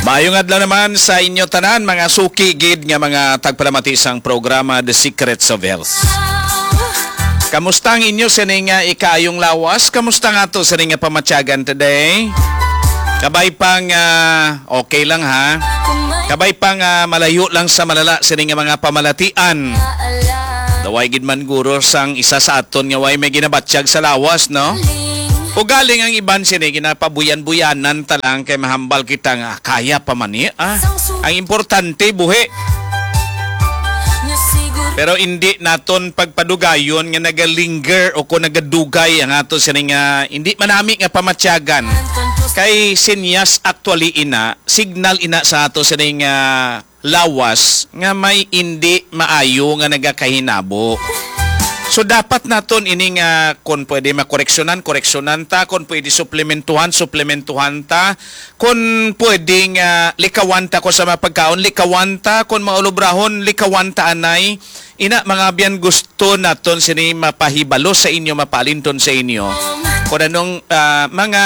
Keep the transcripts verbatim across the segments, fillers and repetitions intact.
Maayong adlaw naman sa inyo tanan, mga suki gid nga mga tagpalamati sang programa The Secrets of Health. Kamusta ang inyo sining, ah, ikaayong lawas? Kamusta nga to sining nga pamatyagan today? Kabay pang, ah, okay lang, ha? Kabay pang, ah, malayo lang sa malala sining nga mga pamalatian. Daway gid man guro sang isa sa aton nga way may ginabatyag sa lawas, no? Ugaling ang iban sini ginapabuyan-buyanan ta lang kay mahambal kita nga kaya pa man ni, ah. Ang importante buhi. Pero indi naton pagpadugayon nga nagalinger o kung nagadugay ang ato sini nga indi manami nga pamatyagan. Kay sinyas actually ina, signal ina sa ato sini nga lawas nga may indi maayo nga nagakahinabo. So, dapat naton ini nga, kon pwede makoreksyonan, koreksyonan ta, kon pwede suplementuhan, suplementuhan ta, kon pwede nga likawan ta ko sa mga pagkaon, likawan ta, kon maulobrahon, likawan ta anay. Ina, mga abyan, gusto naton sini mapahibalo sa inyo, mapalinton sa inyo. Kon anong, ah, mga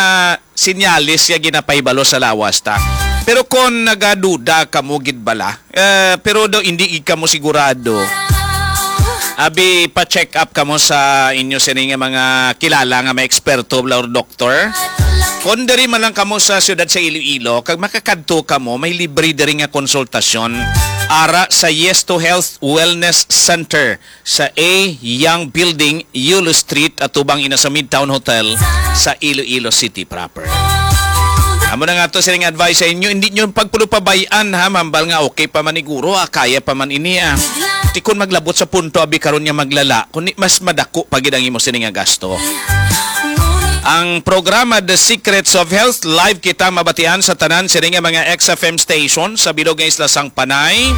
sinyalis nga ginapahibalo sa lawas ta. Pero kon nagaduda kamo gid bala, eh, pero daw hindi gid kamo sigurado, abi, pa-check up kamo sa inyo sini nga mga kilala nga may eksperto bala or doktor. Kon diri man lang kamo sa siyudad sa Iloilo, kag makakadto kamo, may libre diri nga konsultasyon ara sa Yes to Health Wellness Center sa A Young Building, Yulo Street, atubang ina sa Midtown Hotel sa Iloilo City proper. Amo na nga to sining advice sa inyo, hindi nyo pagpulupabayan, ha, mambal nga okay pa man iguro, ah, kaya pa man ini, ah. Ti kon maglabot sa punto abi karon nga maglala, kundi mas madako pa gid ang imo sini nga gasto. Ang programa The Secrets of Health, live kita mabatian sa tanan sini nga mga X F M station sa bilog nga isla sang Panay,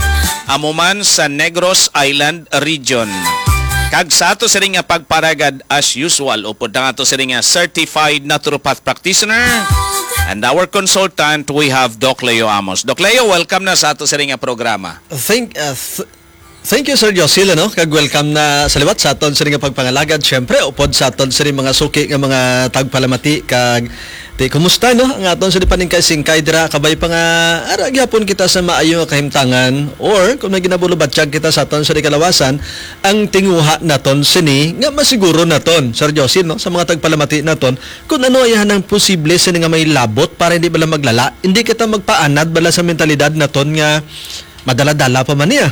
amo man sa Negros Island region. Kag sa ato sini nga pagparagad, as usual, upod ang ato sini nga certified naturopath practitioner and our consultant, we have Doc Leo Amos. Doc Leo, welcome na sa ato sini nga programa. Thank, uh, th- thank you, Sir Josil, ano? Kag welcome na sa liwat sa aton sini nga pagpangalagad. Siyempre, upod sa aton sini mga suki nga mga tagpalamati kag Ti, kumusta, no? Ang aton sa paningkay-singkay dira, kabay pa nga ara gyapon kita sa maayo nga kahimtangan, or kung may ginabulubatyag kita sa aton sa kalawasan, ang tinguha naton sini nga masiguro naton, Sir Josil, no? Sa mga tagpalamati naton, kung ano ay hanang posible sini nga may labot para hindi bala maglala, hindi kita magpaanad bala sa mentalidad naton nga madala-dala pa man niya.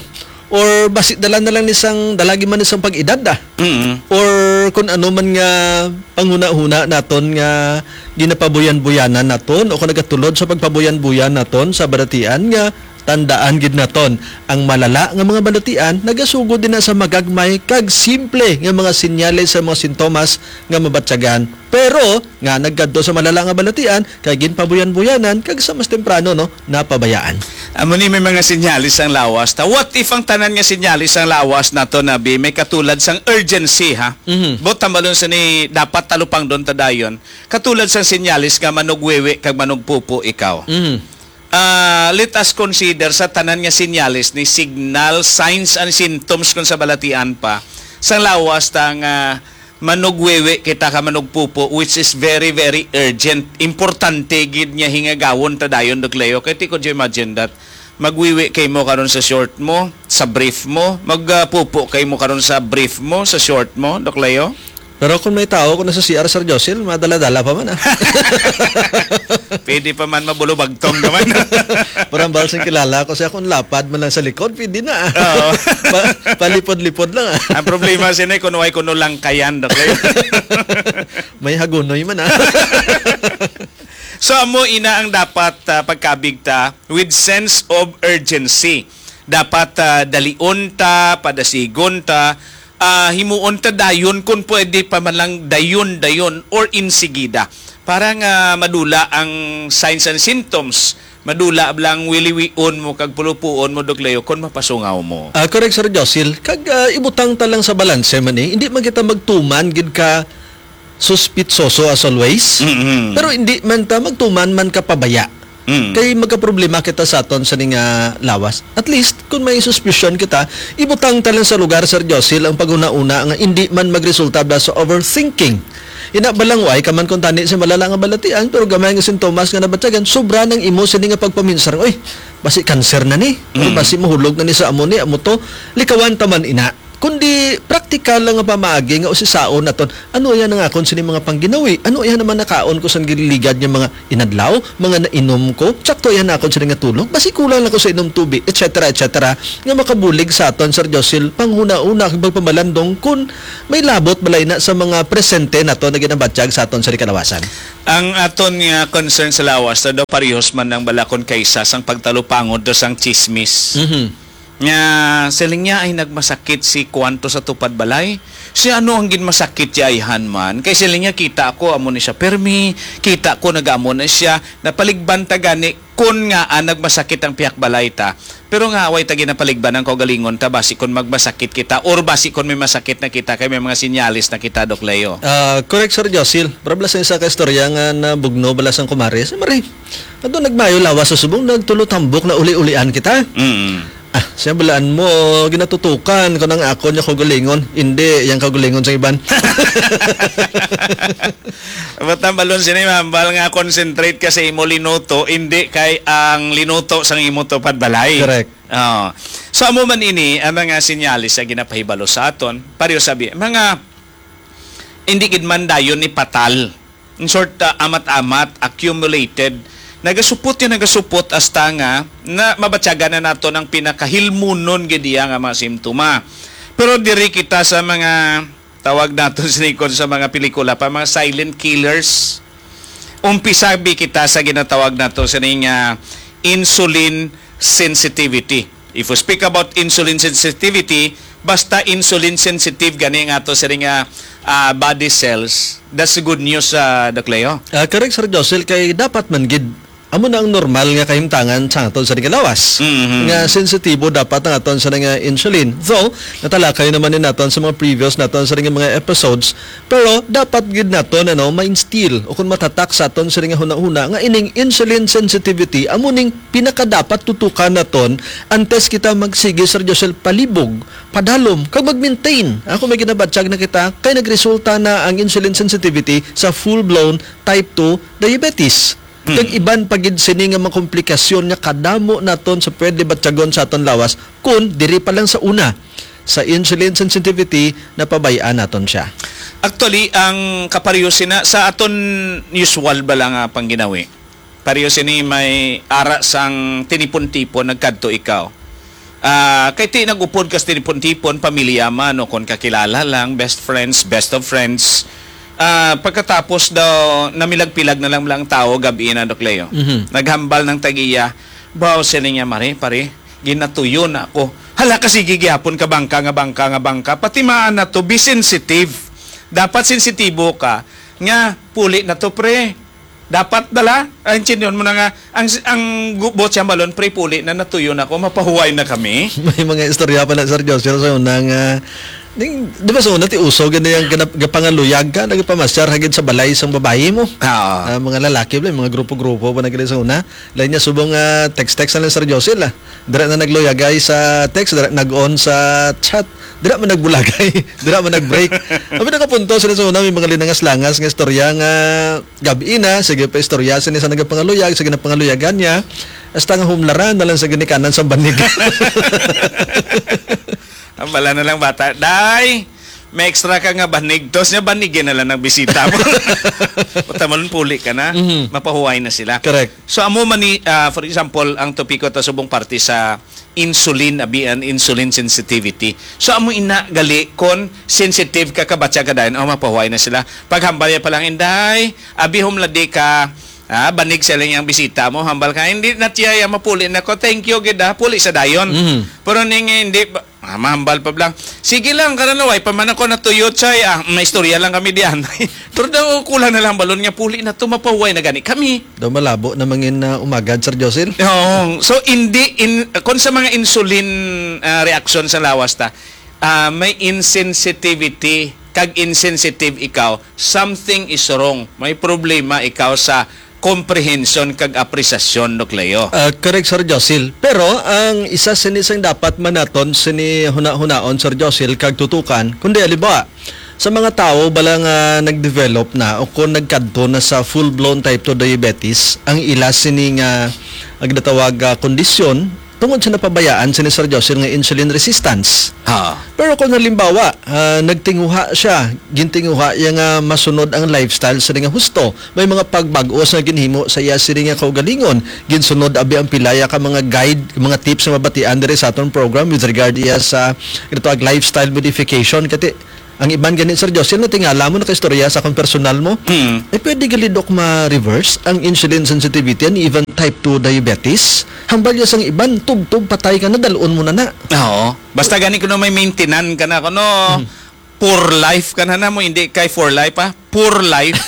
Or basi dala na lang ni sang, dala gid man ni sang pag-edad, ah. Mm. Or kun ano man nga panghunahuna naton nga ginapabuyan-buyanan naton o kung nagatulod sa pagpabuyan-buyan naton sa balatian nga tandaan gid naton, ang malala nga mga balatian nagasugod din na sa magagmay kag simple nga mga senyales sa mga sintomas nga mabatyagan. Pero nga nagkadto sa malala nga balatian, kay ginpabuyan-buyanan kag sa mas temprano, no, napabayaan. Amo ni may mga senyales ang lawas ta. What if ang tanan nga senyales ang lawas nato, Nabi, may katulad sang urgency, ha? Mhm. Buot tambalon sa ni dapat talupangdon ta dayon. Katulad sang senyales nga manugwiwi kag manugpupo ikaw. Mhm. Ah, let us consider sa tanan nga senyales ni signal, signs and symptoms kung sa balatian pa. Sang lawas ta nga manugwiwi kita ka manugpupo, which is very, very urgent. Importante gid nga hingagawon ta dayon, Doc Leo. Kay ti, could you imagine that? Magwiwi kay mo karon sa short mo, sa brief mo, magpupo kay mo karon sa brief mo, sa short mo, Doc Leo? Pero kung may tao, kung nasa C R, Sir Josil, madala-dala pa man, ah. Pwede pa man mabulubagtong naman. Parang bahal sing kilala ko siya, kung lapad man lang sa likod, pwede na, ah. Oo. Pa-, palipod-lipod lang, ah. Ang problema sini, kung way kuno lang kayan, Doc Leo. May hagunoy man, ah. So, amo ina ang dapat, ah, pagkabig ta with sense of urgency. Dapat, ah, dalion ta, padasigon ta, ah, himuon ta dayon, kung pwede pa man lang dayon-dayon or insigida. Para nga madula ang signs and symptoms, madula lang wiliwion mo kag pulupuon mo, Doc Leo, kung mapasungaw mo. Ah, correct, Sir Josil. Kag, ah, ibutang ta lang sa balanse man eh. Hindi man kita magtuman gid ka suspitsoso as always. Mm-hmm. Pero hindi man ta magtuman man ka pabaya. Mm. Kay magkaproblema kita sa aton sa ning, ah, lawas. At least, kung may suspicion kita, ibutang ta lang sa lugar, Sir Josil, ang paghuna-una nga hindi man magresulta ba sa overthinking. Ina, balangway ka man kung tani sa malala nga balatian, pero gamay nga sintomas nga nabatyagan, sobra nang imo sini nga pagpaminsar, "Oy, basi cancer na ni, or Mm. basi mahulog na ni sa amo ni, amo to." Likawan ta man ina. Kundi praktikal lang nga pamaagi nga usisaon naton, "Ano iya nang akon sini mga pangginawi? Ano iya naman nakaon ko sang gililigad nga mga inadlaw, mga nainom ko? Sakto iya na akon sini nga tulog? Basi kulang lang ko sa inom tubig," et cetera, et cetera, nga makabulig sa aton, Sir Josil, panghuna-una kag pagpamalandong kun may labot balay na sa mga presente nato nga ginabatyag sa aton sa kalawasan. Ang aton nga concern sa lawas, daw parehos man ang balakon kaysa sang pagtalupangod do sang chismis. Mhm. Nga, siling niya, "Ay, nagmasakit si kuwanto sa tupad balay. Si ano ang ginmasakit ya ayhan man? Kay siling niya, kita ko amo ni siya permi, kita ko nag-amo na siya, napaligban ta gani kun nga, ah, nagmasakit ang pihak balay ta. Pero nga, way ta ginapaligban ang kaugalingon ta, basi kun magmasakit kita, or basi kun may masakit na kita, kay may mga sinyalis na kita, Doc Leo." Ah, correct, Sir Josil. Para bala sa isa ka istorya nga nabugno bala sang kumare. Si Mari, ato nagmayo lawas sa subong, nagtulo tambok na uli-ulian kita. Mm. Ah, siya balaan mo, ginatutukan ko nang akon niya kaugalingon. Hindi, yang kaugalingon sa iban. Ba't ang balon sini, mahambal nga concentrate ka sa imo linuto, hindi kay ang linuto sang imo tupad balay. Correct. Oo. So, amo man ini ang mga sinyalis sa ginapahibalo sa aton. Pareho sabi, mga hindi gid man dayon ni patal. In short, uh, amat-amat, accumulated. Nagasupot yun, nagasupot hasta nga na mabatyagan na nato ang pinakahilmunon gid iya nga mga simptoma. Pero diri kita sa mga tawag nato sini kon sa mga pelikula pa, mga silent killers. Umpisabi kita sa ginatawag nato sining, ah, insulin sensitivity. If we speak about insulin sensitivity, basta insulin sensitive gani nga ato sining, ah, ah, body cells, that's good news, ah, Doc Leo. Ah, correct, Sir Josel, kay dapat man gid amo na ang normal nga kahimtangan sa aton sa lawas. Mhm. Nga sensitibo dapat ang aton sa nga insulin. Though, natalakay naman ni naton sa mga previous naton sa nga mga episodes, pero dapat gid naton, ano, ma-instill o kung matatak sa aton sa nga hunahuna nga ining insulin sensitivity amo ning pinakadapat tutukan naton antes kita magsigi, Sir Josel, palibog, padalom, kag mag-maintain. Ako may ginabatyag na kita kay nagresulta na ang insulin sensitivity sa full-blown type two diabetes. Hmm. Kag iban pa gid sini nga mga komplikasyon nga kadamo naton sa pwede batyagon sa aton lawas kun diri pa lang sa una sa insulin sensitivity napabay-an naton siya. Actually, ang kapareho sina sa aton usual bala nga pangginawi. Pareho sini may ara sang tinipon-tipon nagkadto ikaw. Ah, kay ti nag-upod ka sa tinipon-tipon, pamilya man o kon kakilala lang, best friends, best of friends. Ah, pagkatapos daw, namilag-pilag na lang lang tawo, gabi na, Doc Leo. Mhm. Naghambal ng tag-iya, "Baw," siling niya, "Mari, pare, ginatuyo na ako. Hala ka, sige gihapon ka bangka nga bangka nga bangka. Pati maan na to, be sensitive. Dapat sensitibo ka nga puli na to, pre." Dapat dala, ang intindihan mo na nga, ang, ang gu-, buot siyang balon, pre, puli na, natuyo na ko, mapahuway na kami. May mga istorya pa na, Sir Josel, sa una nga, ning, di ba sa una, ti uso, gani ang ganap-, gapangaluyag ka, nagpamasyar, hagid sa balay, sang babayi mo. Oo. Ah, mga lalaki, bala, mga grupo-grupo pa na gani sa una. Lain niya, subong, ah, text-text na lang, Sir Josel, ah. Dira na nagluyagay sa text, dira nag-on sa chat, dira man nagbulagay, dira man nag-break. Abi nakapunto sila sa una, may mga linangas-langas nga istorya nga gabi na, sige pa istorya sini sa nagapangaluyag, sa ginapangaluyagan niya, hasta nga humlaran na lang sa ginikanan sa banig. Ang bala na lang bata, "Day, may extra ka nga banig." Tos niya, banigi na lang ang bisita mo. Utamalon, puli ka na, Mhm. mapahuway na sila. Correct. So, amo man ni, ah, for example, ang topiko ta subong parte sa insulin, abi, an insulin sensitivity. So, amo ina gali, kon sensitive ka, kabatya ka dayon, oh, mapahuway na sila. Paghambal niya pa lang, "Inday, abi, humladi ka, ah, banig sa ilang bisita mo, hambal ka, hindi na tiya, ya, mapuli na ko, thank you, gid, ah, puli sa dayon." Mhm. Pero ning, hindi, ba, ah, mahambal pa lang, "Sige lang, karano, way pa man ako natuyot, say, ah, may istorya lang kami diyan." Pero daw, kulang na lang balon nga, puli na to, mapahuway na gani kami. Daw malabo na mangin, ah, umagad, Sir Josil. Oo. So, hindi in, kung sa mga insulin, ah, reaction sa lawas ta, ah, may insensitivity, kag insensitive ikaw, something is wrong. May problema ikaw sa comprehension kag apresasyon, Doc Leo. Ah, correct, Sir Josil. Pero ang isa sini sang dapat man naton sini huna-hunaon, Sir Josil, kag tutukan, kundi, halimbawa, Sa mga tawo bala nga nag-develop na o kon nagkadto na sa full-blown type two diabetes, ang ila sini nga, ang ginatawag, ah, kondisyon tungod sa napabayaan sini, Sir Josil, nga insulin resistance. Ha. Pero kung halimbawa, ah, nagtinguha siya, gintinguha iya nga masunod ang lifestyle sa nga husto, may mga pagbag-o sa ginhimo sa iya sini nga kaugalingon, ginsunod abi ang pilaya ka mga guide, mga tips nga mabatian diri sa aton program with regard iya sa ito ag lifestyle modification. Kati ang iban gani, Sir Josil, natingala mo, nakaistorya sa akong personal mo. Mm. Eh, pwede gali, Doc, ma-reverse ang insulin sensitivity and even type two diabetes? Hambal ya sang iban, tubtob patay ka na, dalon mo na na. Oo. Basta gani kuno may maintenance ka na, kuno Mm. poor life ka na na mo, hindi kay for life, ah. Poor life.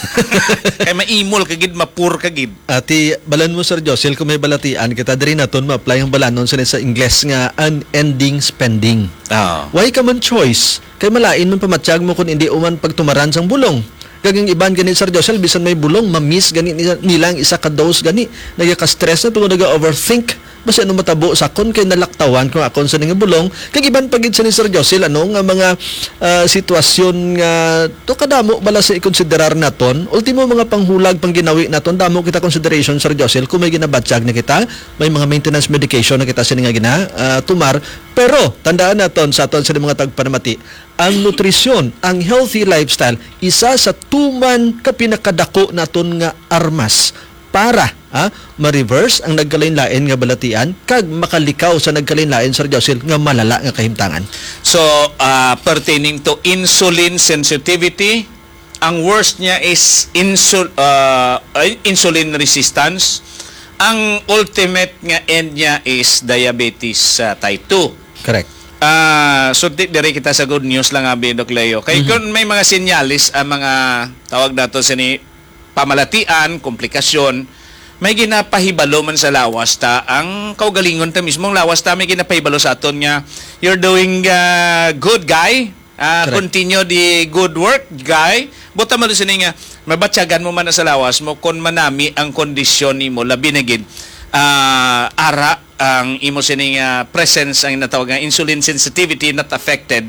Kay maimol ka gid, ma-poor ka gid. Ati, balan mo, Sir Josil, kung may balatian kita, diri naton ma-apply ang balanon sa, sa Ingles nga unending spending. Oo. Why ka man choice? Kay malain man pamatyag mo kung hindi uman pagtumaran sang bulong. Kag ang iban gani, Sir Josel, bisan may bulong, ma-miss gani nila, nila ang isa ka dose gani. Nagaka-stress na tungod naga-overthink. Basi ano matabo sa akon kay nalaktawan ko akon sa nga bulong. Kag iban pa gid sa ni Sir Josel, ano, nga mga, ah, sitwasyon nga to kadamo bala sa ikonsiderar naton. Ultimo, mga panghulag, pangginawi naton, damo kita consideration, Sir Josel, kung may ginabatyag na kita, may mga maintenance medication na kita sini nga gina, ah, tumar. Pero tandaan naton sa aton sa mga tagpanamati, ang nutrisyon, ang healthy lifestyle, isa sa tuman ka pinakadako naton nga armas para, ha, ma-reverse ang nagkalain-lain nga balatian kag makalikaw sa nagkalain-lain, Sir Josil, nga malala nga kahimtangan. So, ah, pertaining to insulin sensitivity, ang worst niya is insul-, ah, ay, insulin resistance. Ang ultimate nga end niya is diabetes, ah, type two. Correct. Ah, so di, diri kita sa good news lang, abi, Doc Leo. Kay Mhm. kung may mga sinyalis ang mga tawag nato sini pamalatian, komplikasyon, may ginapahibalo man sa lawas ta ang kaugalingon ta mismo. Ang lawas ta may ginapahibalo sa aton nga, "You're doing, ah, good, guy. Ah, Correct. Continue the good work, guy." Buta man sini nga, mabatyagan mo man na sa lawas mo kung manami ang kondisyon nimo, labi na gid, ah, ara ang imo sining, ah, presence, ang natawag nga insulin sensitivity not affected,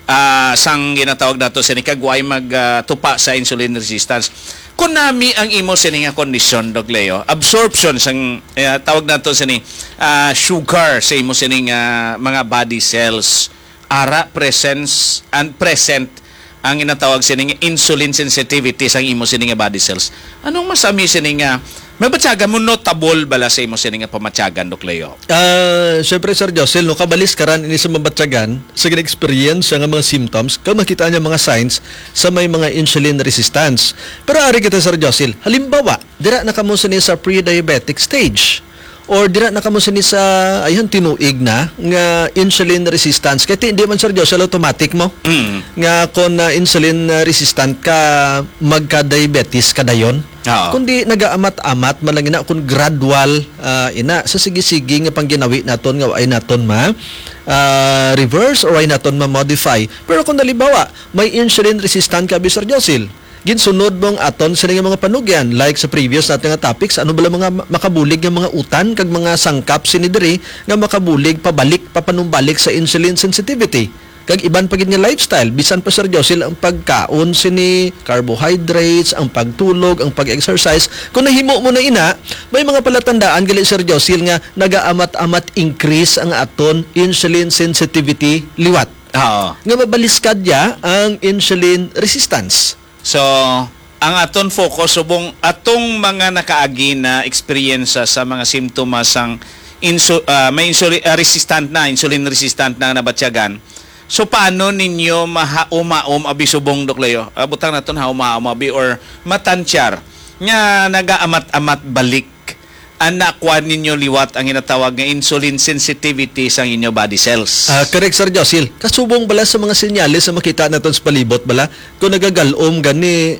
ah, sang ginatawag nato sini kag way mag, ah, tupa sa insulin resistance. Kung nami ang imo sini nga kondisyon, Doc Leo, absorption sang, eh, tawag nato sini, ah, sugar sa imo sining, ah, mga body cells, ara presence and present ang ginatawag sini nga insulin sensitivity sang imo sini nga body cells. Anong masami sini nga mabatyagan mo, notable bala sa imo sini nga pamatyagan, Doc Leo? Ah, syempre, Sir Josel, no, kabalis ka ran ini sa mabatyagan, sa gina-experience nga mga symptoms, ka makita niya mga signs sa may mga insulin resistance. Pero ari kita, Sir Josel, halimbawa, dira na kamo sini sa pre-diabetic stage. Or dira na kamo sini sa, ayun, tinuig na nga insulin resistance. Kaya ti-, di man, Sir Josel, automatic mo Mm. nga kung, ah, insulin, ah, resistant ka, magka-diabetes ka dayon. Oo. Kundi nagaamat-amat man lang ina, kung gradual, ah, ina, sa sige-sige nga pangginawi naton nga ay naton ma, ah, reverse or ay naton ma-modify. Pero kung halimbawa, may insulin resistant ka, Sir Josel, ginsunod mo ang aton sini nga mga panugyan, like sa previous natin nga topics, ano bala mga ma-, makabulig nga mga utan kag mga sangkap sini diri nga makabulig pabalik, papanumbalik sa insulin sensitivity? Kag iban pa gid nga lifestyle, bisan pa, Sir Josel, ang pagkaon sini, carbohydrates, ang pagtulog, ang pag-exercise. Kung nahimo mo na ina, may mga palatandaan gali, Sir Josel, nga nagaamat-amat increase ang aton insulin sensitivity liwat. Oo. Nga mabaliskad ya ang insulin resistance. So, ang aton focus, subong atong mga nakaagi na eksperyensya sa mga simptomas sang insu-, ah, may insuli-, ah, resistant na, insulin resistant na nabatyagan. So, paano ninyo mahaom-haom abi subong, Doc Leo? Ah, butang naton haom-haom abi or matansyar nga nagaamat-amat balik ang nakuha ninyo liwat ang ginatawag nga insulin sensitivity sang inyo body cells. Ah, correct, Sir Josil. Kasubong bala sa mga senyales sa makita naton sa palibot bala, kung nagagalom gani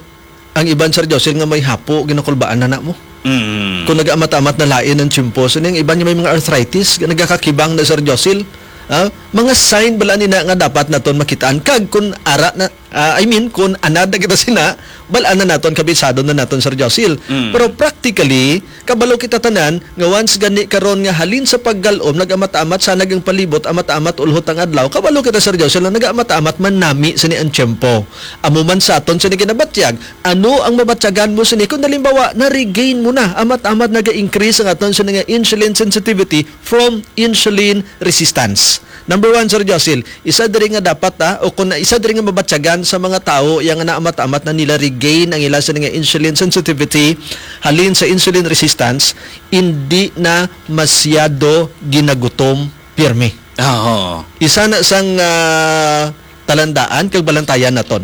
ang iban, Sir Josil, nga may hapo, ginakulbaan na na mo. Mm. Kung nag-amat-amat na lain ang tiyempo, so, ang iban nga may mga arthritis, nagakakibang na, Sir Josil. Ah, mga sign bala ni na nga dapat naton makitaan. Kag kung ara na, Ah, I mean, kung anad na kita sina, bal-an na naton, kabisado na naton, Sir Josil. Mm. Pero practically, kabalo kita tanan nga once gani karon nga halin sa paggal-om, nag-amat-amat sanag ang palibot, amat-amat ulhot ang adlaw, kabalo kita, Sir Josil, na nag-amat-amat man nami sini ang tiyempo. Amo man sa aton sini ginabatyag, ano ang mabatyagan mo sini kung halimbawa na-regain mo na, amat-amat naga-increase ang aton sini nga insulin sensitivity from insulin resistance? Number one, Sir Josil, isa diri nga dapat, ah, o kung isa diri nga mabatyagan sa mga tawo iya nga naamat-amat na nila regain ang ila sini nga insulin sensitivity halin sa insulin resistance, hindi na masyado ginagutom pirmi. Oo. Isa na sang, ah, talandaan kag balantayan naton.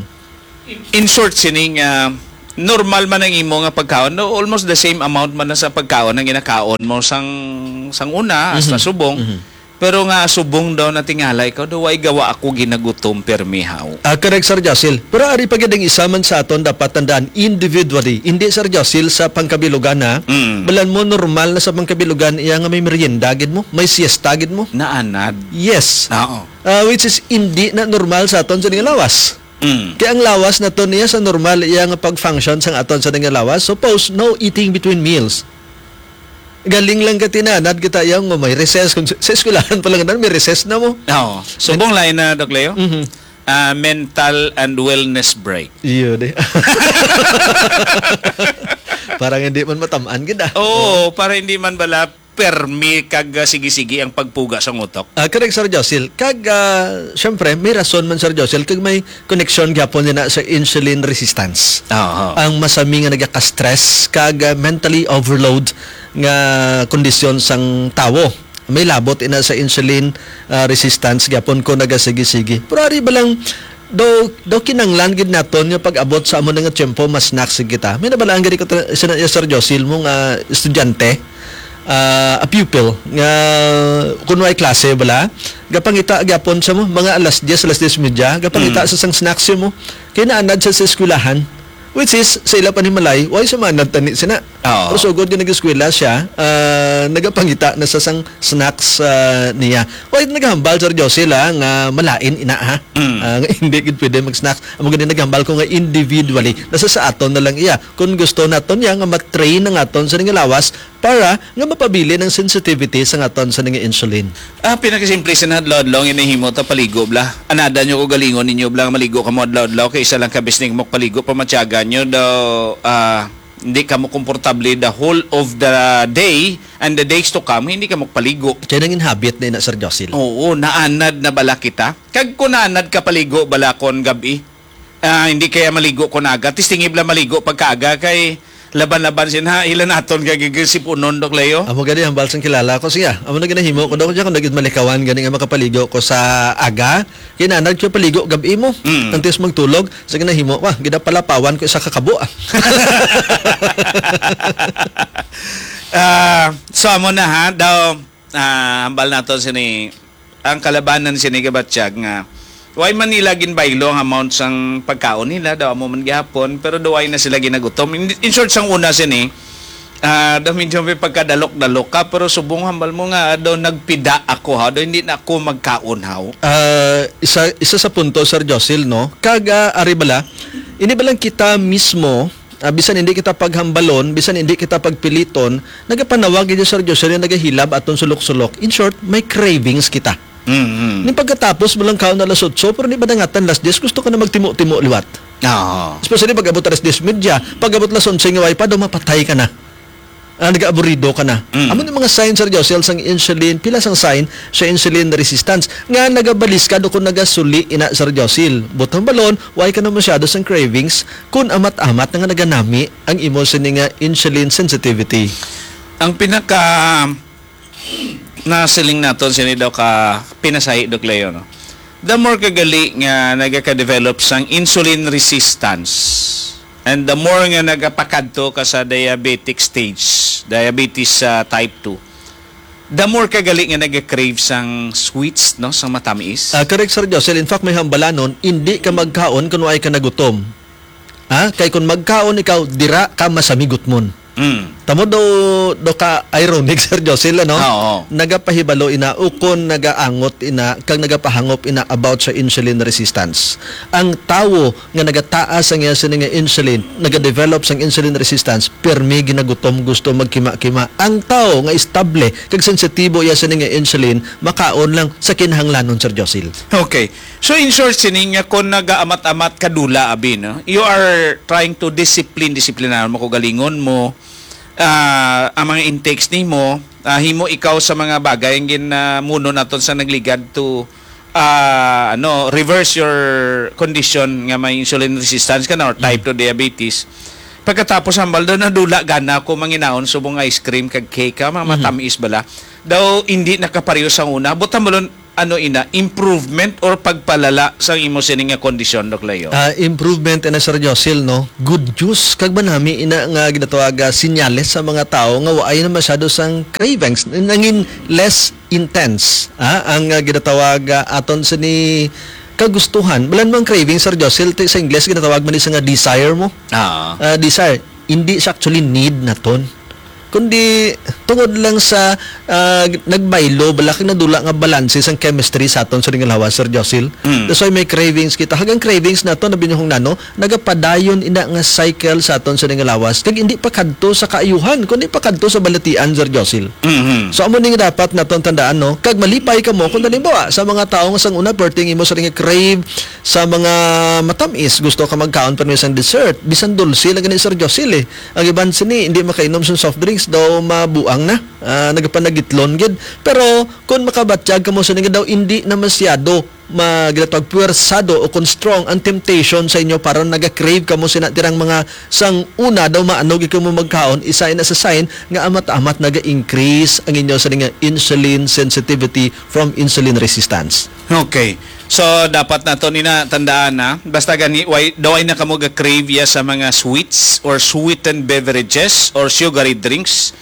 In short, sining, ah, normal man ang imo nga pagkaon, no? Almost the same amount man na sa pagkaon ang ginakaon mo sang, sang una, hasta Mhm. subong. Mhm. Pero nga subong daw na tingali ikaw, daw, "Ay, gawa ako ginagutom, permi haw." Ah, correct, Sir Josil. Pero ari pa gid ang isa man sa aton dapat tandaan individually. Hindi, Sir Josil, sa pangkabilugan, ha? Mm. Balan mo, normal na sa pangkabilugan iya nga may merienda gid mo, may siesta gid mo. Naanad. Yes. Oo. Ah, which is hindi na normal sa aton sa nga lawas. Mm. Kaya ang lawas naton niya sa normal iya nga pag-function sang aton sa nga lawas. Suppose, no eating between meals. Galing lang ka tinanad kita yang nga may recess. Kung sa, sa eskwelahan pa lang na, may recess na mo. Oo. Subong lain na, Doc Leo. Mhm. Ah, mental and wellness break. Iyo, di. Parang hindi man matamaan gid, ah. Oo, para hindi man bala permi kag, ah, sige-sige ang pagpuga sa utok. Ah, correct, Sir Josil. Kag, ah, syempre, may rason man, Sir Josil, kag may koneksyon gyapon niya na sa insulin resistance. Oo. Ang masami nga nagaka-stress kag, ah, mentally overload nga kondisyon sang tawo. May labot ina sa insulin, ah, resistance gyapon ko nagasigi-sigi. Pero ari ba lang, daw, daw kinanglan gid naton nga pag-abot sa amo na nga tiyempo, mas snacks gid kita. May nabalaan gid ko ta-, sina-, Sir Josil, mo nga estudyante, ah, a pupil, nga kun may klase bala, gapangita gyapon sa mo, mga alas diyes, alas diyes medya, gapangita Mm. sa sang snacks mo. Kay naanad sa, sa eskwelahan, which is, sa ila panimalay, why sa manad tani sina? Oo. Pero sugod nga nag-eskwela siya, ah, nagapangita na sa sang snacks, ah, niya. Why nagahambal, Sir Josil, ah, nga malain ina, ha? Mm. Ah, nga hindi gid pwede mag-snacks. Amo gani naghambal ko nga individually. Nasa sa aton na lang iya. Kung gusto naton niya nga ma-train ang aton sa nga lawas para nga mapabilin ang sensitivity sa aton sa nga insulin. Ah, pinakasimple sa adlaw-adlaw nga nahimo ta paligo bla. Anada nyo ko galingon ninyo bla nga maligo kamo adlaw-adlaw kay isa lang ka bisning mo paligo pamatyagan nyo daw, ah, hindi kamo komportable the whole of the day and the days to come, hindi kamo paligo. Kaya nangin habit na ina, Sir Josil. Oo, naanad na bala kita. Kag kung naanad ka paligo bala kon gabi, ah, hindi kaya maligo kon aga. Tistingib lang maligo pagkaaga kay laban-laban sin ha, ila naton kay gigisipunon, Doc Leo. Amo gani ang balsang kilala ko siya. Amo na ginahimo ko daw siya kung nagid malikawan gani nga makapaligo ko sa aga. Kinanag ko paligo gabi mo. Mm. Antes magtulog, sa ginahimo ko, ah, gidapalapawan ko isa ka kabo, ah. Ah, so amo na ha, daw, ah, hambal nato sini, ang kalabanan sini kabatyag nga, why man nila ginbaylo ang amount sang pagkaon nila, daw amo man gihapon, pero daw ay na sila ginagutom. In, in short, sang una sini, ah, daw medyo may pagkadalok-dalok ka, pero subong hambal mo nga, daw nagpida ako, ha? Daw hindi na ako magkaon, haw? Ah, isa, isa sa punto, Sir Josil, no? Kag, ah, ari bala, hindi ba lang kita mismo, ah, bisan hindi kita paghambalon, bisan hindi kita pagpiliton, nagapanawag gid, Sir Josil, nga nagahilab aton sulok-sulok. In short, may cravings kita. Mm-hmm. Ni pagkatapos mo lang kaon na alas otso, pero di ba dangatan alas diyes, gusto ka na magtimo-timo liwat. Oo. Especially pag abot alas diyes medya, pag abot alas onse nga way pa, daw mapatay ka na. Ah, nag-aaburido ka na. Mm. Amo ni mga sign, Sir Josil, sang insulin, pila sang sign sa insulin resistance nga nagabalis ka do kung nagasuli ina, Sir Josil. Butang balon, way ka na masyado sang cravings kung amat-amat na nga naganami ang imo sini nga insulin sensitivity. Ang pinaka nasiling naton sini daw ka pinasahi, Doc Leo, no? The more kagali nga nagaka-develop sang insulin resistance, and the more nga nagapakadto ka sa diabetic stage, diabetes, ah, type two, the more kagali nga nag-crave sang sweets, no, sang matamis. Ah, correct, Sir Josel. In fact, may hambalanon, hindi ka magkaon kung way ka nagutom. Ha? Kay kung magkaon ikaw, dira ka masamigutmon. Mm. Tamo daw, daw ka ironic, Sir Josil, ano? Oo. Nagapahibalo ina, ukon nagaangot ina, kag nagapahangop ina about sa insulin resistance. Ang tawo nga nagataas ang iya sini nga insulin, nagadevelop sang insulin resistance, pirmi ginagutom, gusto magkima-kima. Ang tawo nga estable kag sensitibo iya sini nga insulin, makaon lang sa kinahanglanon, Sir Josil. Okay. So, in short, sining nga kung nagaamat-amat ka dula, abi, no? You are trying to discipline, disiplinahon mo, kaugalingon mo, ah, ang mga intakes nimo, ah, himo ikaw sa mga bagay ang gin, ah, muno naton sa nagligad to, ah, ano, reverse your condition nga may insulin resistance ka na or type Mhm. two diabetes. Pagkatapos, hambal daw, nadula gana ako manginaon subong ice cream kag cake, ha, mga Mhm. matamis bala. Daw, hindi nakapareho sa una. Buta mo lon, ano ina, improvement or pagpalala sa imo sini nga kondisyon, Doc Leo? Ah, improvement ina, Sir Josil, no? Good news. Kag manami ina nga ginatawag, ah, sinyales sa mga tawo nga waay na masyado sang cravings. Nangin less intense, ah, ang, ah, ginatawag, ah, aton sini kagustuhan. Balan mang craving, Sir Josil, ti-, sa Ingles, ginatawag man ni sa nga desire mo. Ah. Ah, desire. Hindi siya actually need naton. Kundi tungod lang sa, ah, nagbaylo, bala kag nadula nga balanse sang chemistry sa aton sa nga lawas, Sir Josil. Mm. That's why may cravings kita. Hagang cravings nato, nabinuhong nano, nagapadayon ina nga cycle sa aton sa nga lawas. Kag hindi pa kadto sa kaayuhan, kundi pa kadto sa balatian, Sir Josil. Mhm. So, amo ni nga dapat naton tandaan, no? Kag malipay kamo kung halimbawa, sa mga tawo nga sang una, perting imo sa nga crave sa mga matamis, gusto ka magkaon pa sang dessert, bisan dulce lang gani, Sir Josil, eh. Ang iban sini, hindi makainom sang soft drinks, daw mabuang na. Ah, nagapanagitlon gid. Pero kung makabatyag kamo sini nga daw, hindi na masyado ma-, ginatawag puwersado o kung strong ang temptation sa inyo para naga-crave kamo sina tirang mga sang una daw maano gid kamo magkaon, isa ina sa sign nga amat-amat naga-increase ang inyo sini nga insulin sensitivity from insulin resistance. Okay. So, dapat nato ni na tandaan na, basta gani, way, daw ay na kamo ga-crave ya sa mga sweets or sweetened beverages or sugary drinks,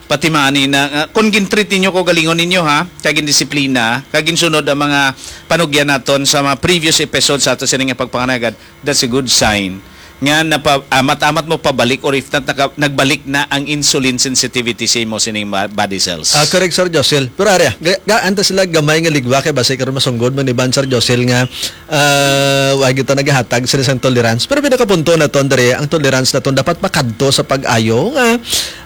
pati maani na, nga, kung gintreat ninyo ko, galingon ninyo, ha, kag gindisiplina, kag ginsunod ang mga panugyan naton sa mga previous episodes sa ato sini nga pagpanganagad, that's a good sign nga napa-, amat-amat mo pabalik, or if not, naka-, nagbalik na ang insulin sensitivity sa imo sining ba-, body cells. Ah, correct, Sir Josil. Pero ari, ga-, gaan ta sila gamay nga ligwa kay basi karon masunggod man ni Ban, Sir Josil, nga, ah, wa gyud ta nagahatag sa isang tolerance. Pero pinakapunto naton diri, ang tolerance naton dapat makadto sa pag-ayo nga,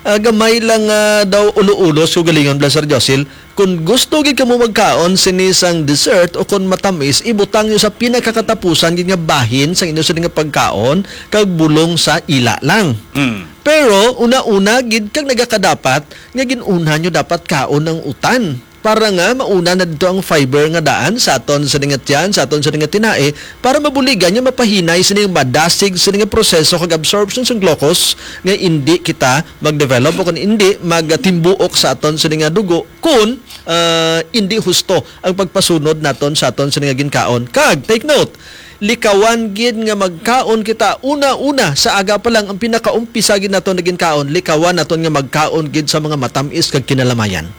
ah, gamay lang, ah, daw ulo-ulos ko galingon bala, Sir Josil. Kung gusto gid kamo magkaon sini sang dessert o kung matamis, ibutang nyo sa pinakakatapusan gid nga bahin sang inyo sini nga pagkaon kag bulong sa ila lang. Mm. Pero una-una gid kag nagakadapat nga gin-una nyo dapat kaon ang utan para nga mauna na dito ang fiber nga daan sa aton sini nga tiyan, sa aton sini nga tinae, para mabuligan nga mapahinay sini nga madasig sini nga proseso kag absorption sang glucose nga indi kita mag-develop o kung indi magtimbuok sa aton sini nga dugo kung, ah, indi husto ang pagpasunod naton sa aton sini nga ginkaon. Kag, take note, likawan gid nga magkaon kita una-una sa aga pa lang ang pinakaumpisa gid naton nga ginkaon. Likawan naton nga magkaon gid sa mga matamis kag kinalamayan.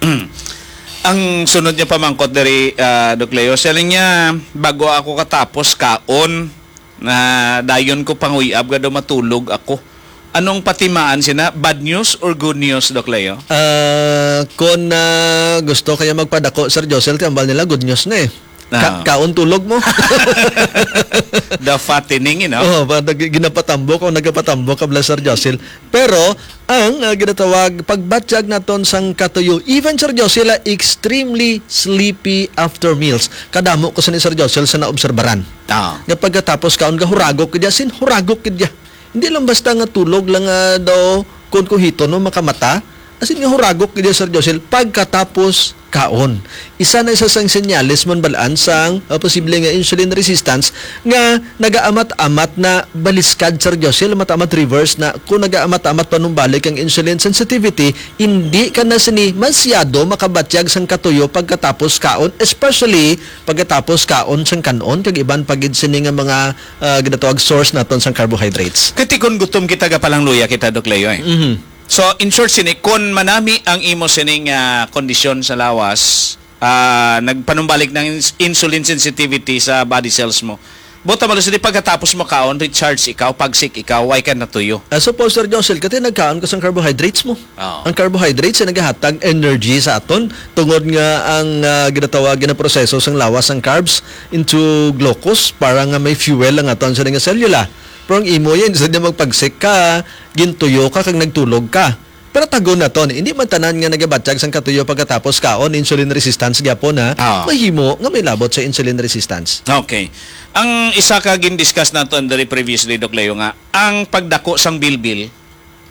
Ang sunod niya pamangkot diri, ah, Doc Leo, siya lang niya, "Bago ako katapos kaon, na dayon ko panguyab, gado matulog ako." Anong patimaan sina? Bad news or good news, Doc Leo? Ah, kung, ah, gusto kaya magpadako, Sir Josel, ti ambal nila, good news na eh. Ka-, Ah. kaon tulog mo. The fattening, you know? Oh, pa-, nag-, ginapatambok o nagapatambok ka bala, Sir Josel. Pero, ang, ah, ginatawag, pagbatyag naton sang katuyo, even, Sir Josel, ah, extremely sleepy after meals. Kadamo ko sa ni Sir Josel sa naobserbaran. Ah. Nga pagkatapos kaon, gahuragok gid ya, sin huragok gid ya. Hindi lang basta nga tulog lang nga daw, kun kuhiton mo makamata. As in nga huragok gid ya, Sir Josel, pagkatapos kaon. Isa na isa sang senyales man balaan sang, uh, posible nga insulin resistance nga nagaamat-amat na baliskad, Sir Josel, amat-amat reverse na kung nagaamat-amat panumbalik ang insulin sensitivity, hindi ka na sini masyado makabatyag sang katuyo pagkatapos kaon, especially pagkatapos kaon sang kan-on kag iban pa gid sini nga mga, ah, ginatawag source naton sang carbohydrates. Kati kun gutom kita, gapalangluya kita, Doc Leo, eh. Mhm. So, in short, sini, kun manami ang imo sining, ah, kondisyon sa lawas, ah, nagpanumbalik ng ins-, insulin sensitivity sa body cells mo, Buta malo sini, pagkatapos mo kaon, recharge ikaw, pagsik ikaw, way ka natuyo. Ah, suppose, Sir Josel, kati nagkaon ka sang carbohydrates mo. Oo. Ang carbohydrates ay nagahatag energy sa aton tungod nga ang ah, ginatawag, ginaproseso sang lawas ang carbs into glucose para nga may fuel ang aton sa nga selula. Pero ang imo yan, sa niya magpagsik ka, gintuyo ka, kag nagtulog ka. Pero tagon naton, hindi man tanan nga nagabatyag sang katuyo pagkatapos kaon, insulin resistance gyapon, ha. Ah. Mahimo nga may labot sa insulin resistance. Okay. Ang isa ka gin-discuss naton diri previously, Doc Leo, nga ang pagdako sang bilbil,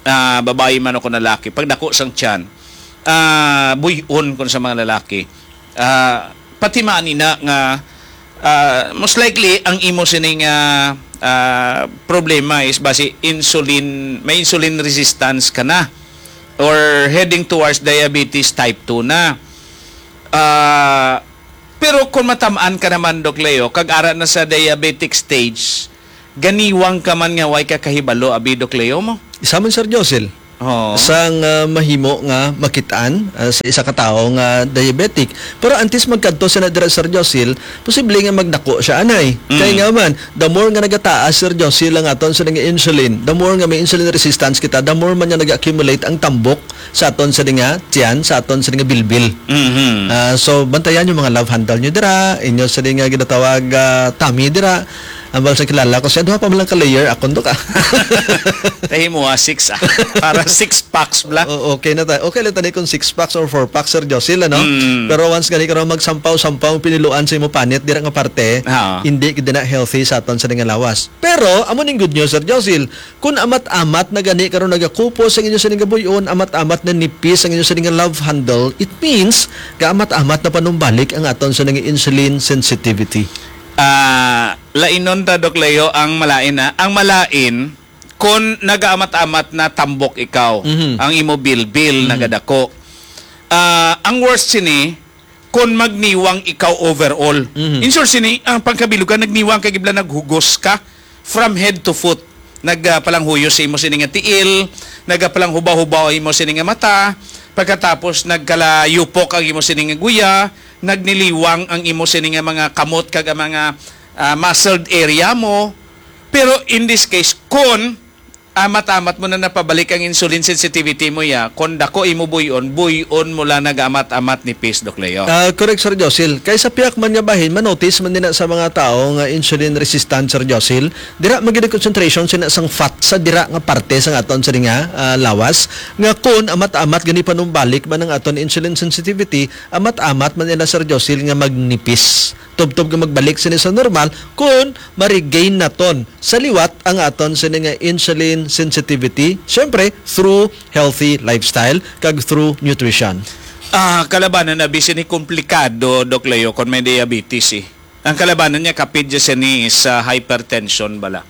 ah, babayi man o kung lalaki, pagdako sang tiyan, ah, buy-on kung sa mga lalaki. Ah, pati man ina nga, ah, most likely ang imo sining ah, ah, problema is basi insulin, may insulin resistance ka na or heading towards diabetes type two na. Ah, pero kung matamaan ka naman, Doc Leo, kag ara na sa diabetic stage, ganiwang ka man nga way ka kahibalo, abi, Doc Leo mo? Isa man, Sir Josel. Oo. Sang ah, mahimo nga makitaan ah, sa isa ka tawo nga diabetic. Pero antes magkadto sa na dira, Sir Josil, posible nga magdako siya anay. Mm. Kay nga man, the more nga nagataas, Sir Josil, ang aton sa nga insulin, the more nga may insulin resistance kita, the more man nga nag-accumulate ang tambok sa aton sa nga tiyan, sa aton sa nga bilbil. Mm-hmm. Ah, so, bantayan yung mga love handle nyo dira, inyo sa nga ginatawag ah, tummy dira. Ambal sa kilala ko siya, duha pa man lang ka layer, akon to ka. Tahi mo ah, six ah. Para six packs bla. O, okay na ta. Okay lang tani kung six packs or four packs, Sir Josil, ano? Mm. Pero once gani karon magsampaw-sampaw ang piniluan sa imo panit, dira nga parte, ah, hindi gid na healthy sa aton sa nga lawas. Pero, amo ning good news, Sir Josil. Kung amat-amat na gani karon nagakupos ang inyo sa nga buyon, amat-amat na nipis ang inyo sa nga love handle, it means, kaamat-amat na panumbalik ang aton sa nga insulin sensitivity. Ah, lainon ta, Doc Leo, ang malain na. Ang malain, kon nagaamat-amat na tambok ikaw, Mhm. ang imo bilbil Mhm. nagadako. Ah, ang worst sini, kon magniwang ikaw overall. Mhm. In short sini, ang pangkabilugan, nagniwang ka, gibla, naghugos ka from head to foot. Nagpalanghuyo sa imo sini nga tiil, nagpalanghubaw-hubaw imo sini nga mata, pagkatapos nagkalayupok ang imo sini nga guya, nagniliwang ang imo sini nga mga kamot kag ang mga ah, muscled area mo. Pero in this case, kon amat-amat mo na napabalik ang insulin sensitivity mo, ya, kon dako imo buyon, buyon mo lang nag-amat-amat nipis, Doc Leo. Ah, correct, Sir Josil. Kay sa piyak man nga bahin, manotice man din na sa mga tao nga insulin resistant, Sir Josil, dira man gid ang concentration sina sang fat sa dira nga parte sa aton sa nga ah, lawas, nga kon amat-amat gani panumbalik man ang aton insulin sensitivity, amat-amat man nila, Sir Josil, nga magnipis. Tubtob nga magbalik sini sa normal kon ma-regain naton sa liwat ang aton sini nga insulin sensitivity, syempre through healthy lifestyle kag through nutrition. Ah, kalabanan na bi sini komplikado, Doc Leo, kon may diabetes eh. Ang kalabanan niya kapid siya sini sa hypertension bala.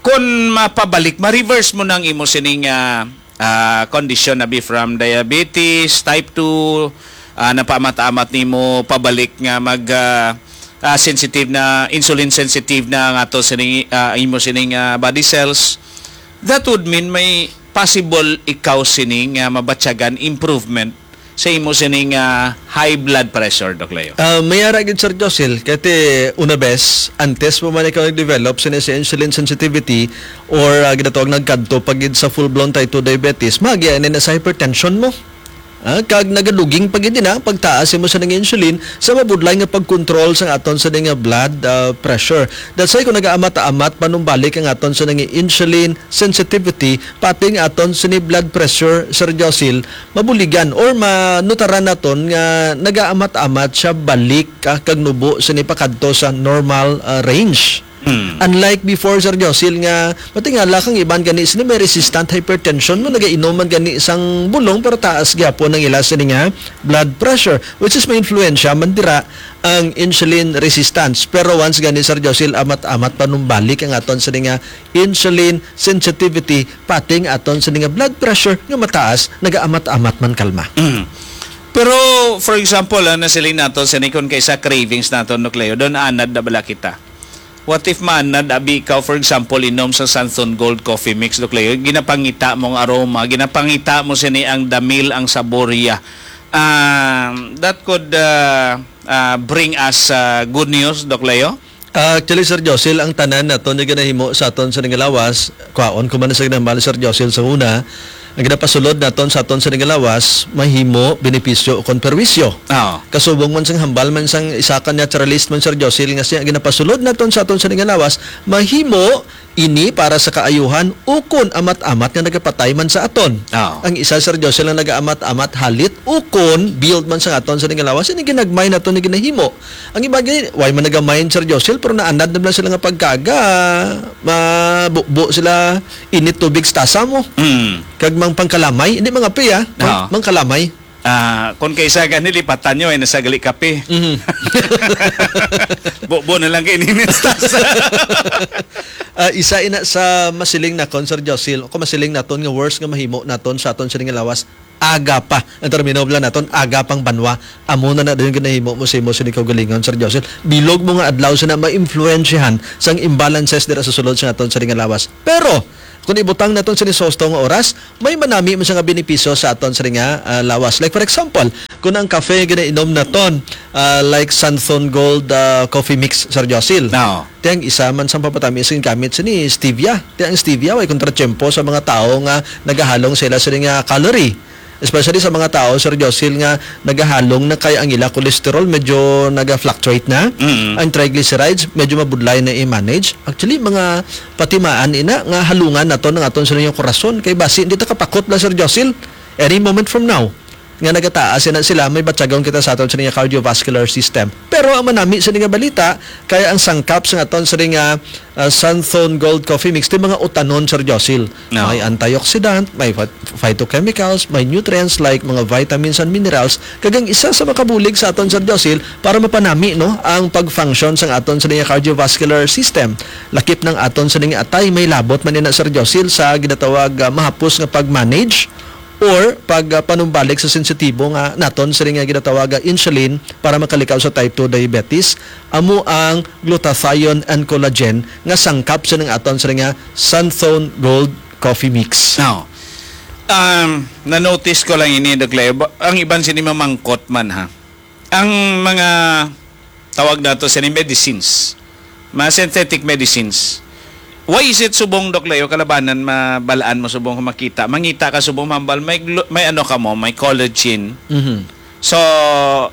Kon mapabalik, ma-reverse mo nang imo sining ah, ah, kondisyon, abi, from diabetes, type two, ah, napaamat-amat nimo pabalik nga mag ah, ah, sensitive na, insulin sensitive na nga to sining ah, imo sining ah, body cells. That would mean may possible ikaw sining ah, mabatyagan improvement sa imo sining ah, high blood pressure, Doc Leo? Ah, may ara gid, Sir Josil, kay una bes, antes mo man ikaw nag-develop sini sa insulin sensitivity or ah, ginatawag nagkadto pa gid sa full-blown type two diabetes, maagi na sa hypertension mo. Ah, kag nagaduging pa gid na pagtaas imo sa nga insulin sa mabudlay nga pagkontrol sa aton sa nga blood ah, pressure. That's why kung nagaamat-amat panumbalik ang aton sa nga insulin sensitivity, pati ang aton sini blood pressure, Sir Josil, mabuligan or manutaran naton nga nagaamat-amat siya balik ah, kag nubo sini pakadto sa normal ah, range. Hmm. Unlike before, Sir Josil, nga matingala kang iban gani sini may resistant hypertension mo, nagainom man gani sang bulong pero taas gyapon ang ila sini nga blood pressure, which is may influensya man dira ang insulin resistance. Pero once gani, Sir Josil, amat-amat panumbalik ang aton sini nga insulin sensitivity, pati ang aton sini nga blood pressure nga mataas, nagaamat-amat man kalma. Mm. Pero, for example, ah, nasiling nato, sini kon kay sa cravings nato, Nucleo, doon anad na bala kita. What if maanad abi ikaw, for example, inom sa Santhon Gold Coffee Mix, Doc Leo? Ginapangita mo ang aroma, ginapangita mo sini ang damil, ang saborya. Um, that could uh, uh, bring us uh, good news, Doc Leo? Actually, Sir Josil, ang tanan naton nga ginahimo sa aton sa nga lawas, kwaon ko man sa ginahambal, Sir Josil, sa una, ang ginapasulod naton sa aton sa nga lawas, mahimo benepisyo o kon perwisyo. Oo. Kasubong man sang hambal man sang isa ka naturalist man, Sir Josil, nga siya, ang ginapasulod naton sa aton sa nga lawas, mahimo ini para sa kaayuhan, ukon amat-amat nga nagapatay man sa aton. Oo. Ang isa, Sir Josil, ang nagaamat-amat, halit, ukon build man sa aton sa nga lawas, ini ginagmay naton nga ginahimo. Ang iba gani, way man naga-mind, Sir Josil, pero naanad na lang sila nga pagkaga, mabubo sila, init tubig sa tasa mo. Mm. Kag mang pangkalamay, hindi mga pi, ah, mang, Oo. mangkalamay. Ah, kung kaysa gani, lipatan nyo, ay nasa gali kape. Mhm. Bubo na lang kay ninit sa tasa. Ah, isa ina sa masiling na kon, Sir Josil, o kung masiling naton nga worst nga mahimo naton sa aton sining lawas, aga pa. Ang termino lang naton, aga pang banwa. Amo na na din ginahimo mo sa imo sa kaugalingon, Sir Josil. Bilog mo nga adlaw sa na maimpluwensyahan sang imbalances dira sa sulod sa aton sa nga lawas. Pero, kung ibutang naton sa nisosto nga oras, may manami mo sa nga benepisyo sa aton sa nga, ah, lawas. Like, for example, kung ang kafe ginainom naton, ah, like Santhon Gold, ah, Coffee Mix, Sir Josil. No. Ti ang isa man sa papatami sa gamit sa ni stevia. Ti ang stevia, way kontratiyempo sa mga tao nga nagahalong sila sa nga calorie. Especially sa mga tao, Sir Josil, nga nagahalong na kay ang ila cholesterol medyo naga-fluctuate na. Mm. Ang triglycerides, medyo mabudlay na i-manage. Actually, mga patimaan ina nga halungan naton ang aton sa inyong korason. Kay basi, hindi ta kapakot lang, Sir Josil. Any moment from now, nga nagataas na sila, may batyagon kita sa aton sa inyong cardiovascular system. Pero ang manami sa nga balita, kaya ang sangkap sa aton sa nga, ah, Santhon Gold Coffee Mix, ti mga utanon, Sir Josil. No. May antioxidant, may phyt-, phytochemicals, may nutrients like mga vitamins and minerals, kag ang isa sa makabulig sa aton, Sir Josil, para mapanami, no, ang pag-function sa aton sa nga cardiovascular system. Lakip ng aton sa nga atay, may labot man ina, Sir Josil, sa ginatawag, ah, mahapos nga pag-manage or pag, ah, panumbalik sa sensitibo nga naton sa nga ginatawag, ah, insulin para makalikaw sa type two diabetes, amo ang glutathione and collagen nga sangkap sa nga aton sa nga Santhon Gold Coffee Mix. Now, um, na-notice ko lang ini, Doc Leo. Ba-, ang iban sini mamangkot man, ha. Ang mga tawag nato sini medicines, mga synthetic medicines. Why is it subong, Doc Leo, kalabanan mabalaan mo subong kung makita? Mangita ka subong mambal, may glu-, may ano ka mo, may collagen. Mhm. So,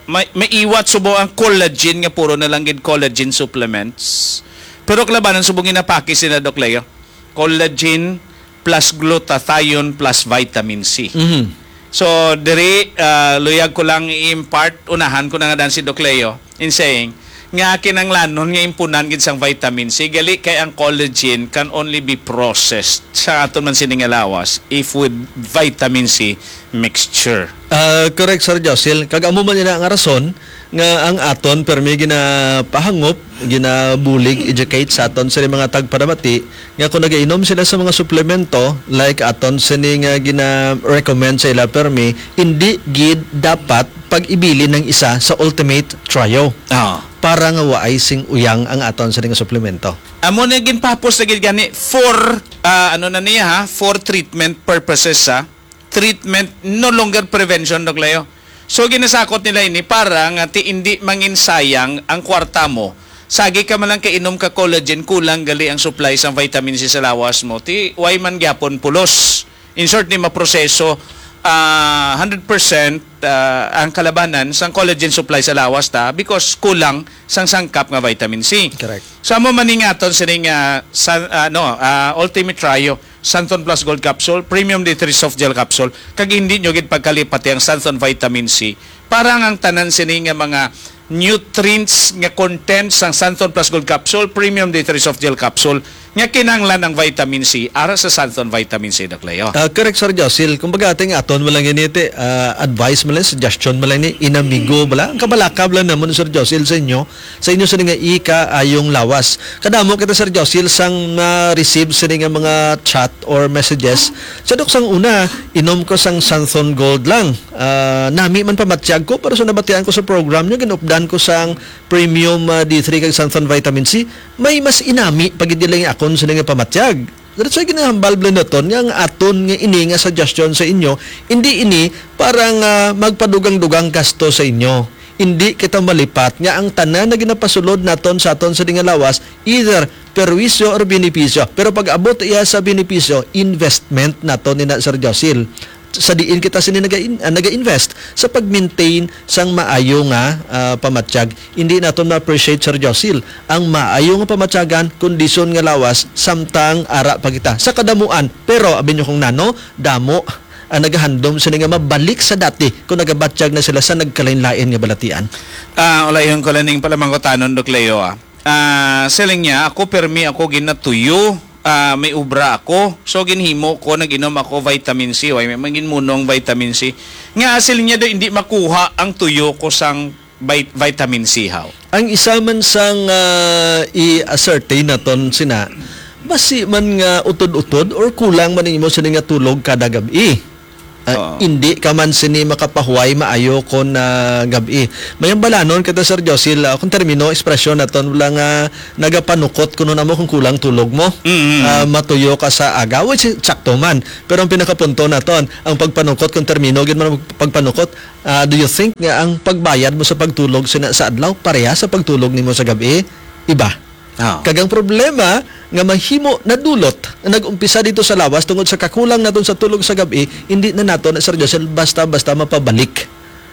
may, may iwat subong ang collagen nga puro na lang gid collagen supplements. Pero kalabanan subong ginapakis nila, Doc Leo. Collagen plus glutathione plus vitamin C. Mhm. So, diri, ah, luyag ko lang i-impart, unahan ko na nga dan si Doc Leo in saying nga kinanglanon nga impunan gid sang vitamin C, gali kay ang collagen can only be processed sa aton man sini nga lawas if with vitamin C mixture. Ah, correct, Sir Josil. Kag amo man ina nga rason nga ang aton permi ginapahangop, ginabulig, educate sa aton sa mga tagparamati nga kung nagainom sila sa mga suplemento, like aton sini nga gina-recommend sa ila permi, hindi gid dapat pag-ibilin ng isa sa ultimate trio. Ah. Para nga waay sing uyang ang aton sini nga suplemento. Amo na ginpapos na gid gani for, ah, ano na niya ha, for treatment purposes ha. Treatment, no longer prevention, Doc Leo. So, ginasakot nila ini para nga ti indi manginsayang ang kwarta mo. Sagi ka man lang kainom ka collagen, kulang gali ang supply sang vitamin C sa lawas mo. Ti, way man gyapon pulos. In short, di maproseso, ah, hundred percent, ah, ang kalabanan sang collagen supply sa lawas ta because kulang sang sangkap nga vitamin C. Correct. So, amo man ni nga aton sining, ah, san-, ano, ah, Ultimate Trio, Santon Plus Gold Capsule, Premium D three Soft Gel Capsule, kag hindi nyo gid pagkalipati ang Santon Vitamin C. Para nga ang tanan sini nga mga nutrients nga content sang Santon Plus Gold Capsule, Premium D three Soft Gel Capsule, nga kinahanglan ang vitamin C, ara sa Santon Vitamin C, Doc Leo. Ah, correct, Sir Josil. Kumbaga, ating aton mo lang ini, ti, ah, advice mo lang, suggestion mo lang ni, inamigo mo lang. Ang kabalakab lang naman, Sir Josil, sa inyo, sa inyo sa nga ikaayong lawas. Kadamo kita, Sir Josil, sang na-receive sini nga mga chat or messages. Sa dok sang una, inom ko sang Santhon Gold lang. Ah, nami man pamatyag ko, pero sa nabatian ko sa program nyo, ginupdan ko sang premium, ah, D three kag Santhon Vitamin C. May mas inami pag hindi lang akon sini nga pamatyag. That's why ginahambal bala naton nga ang aton nga ini nga suggestion sa inyo, hindi ini para nga magpadugang-dugang gasto sa inyo. Hindi kita malipat nga ang tanan na ginapasulod naton sa aton sa dinga lawas, either perwisyo or benepisyo. Pero pag abot iya sa benepisyo, investment naton ina, Sir Josil. Sa diin kita sini naga-in-, ah, naga-invest sa pag-maintain sang maayo nga, ah, pamatyag. Hindi naton ma-appreciate, Sir Josil, ang maayo nga pamatyagan, kondisyon nga lawas, samtang ara pa kita sa kadamuan. Pero abi nyo kung nano, damo ang nagahandom sini nga mabalik sa dati kung nagabatyag na sila sa nagkalain-lain nga balatian. Ah, ulayhon ko lang ning palamangkutanon, Doc Leo, ah. Ah, siling niya, "Ako, permi ako ginatuyo. Ah, may obra ako. So, ginhimo ko, nag-inom ako vitamin C." Way, may, may ginmunong vitamin C. Nga, siling niya daw, hindi makuha ang tuyo ko sang vit-, vitamin C, haw. Ang isa man sang, ah, i-ascertain naton sina, basi man nga utod-utod or kulang man ang imo sini nga tulog kada gab-i. Ah, Oo. Hindi ka man sini makapahuway maayo kon, ah, gab-i. May ang balanon kita, Sir Josil, ah, kung termino, ekspresyon naton, wala nga nagapanukot kuno namo kung kulang tulog mo. Mm. Ah, matuyo ka sa aga, which is sakto man. Pero ang pinakapunto naton, ang pagpanukot, kung termino gid man ang pagpanukot, ah, do you think nga ang pagbayad mo sa pagtulog sina-, sa adlaw pareha sa pagtulog nimo sa gab-i? Iba. Ah. Kag ang problema nga mahimo nadulot, nag-umpisa dito sa lawas tungod sa kakulang naton sa tulog sa gab-i, hindi na nato na, Sir Josel, basta-basta mapabalik.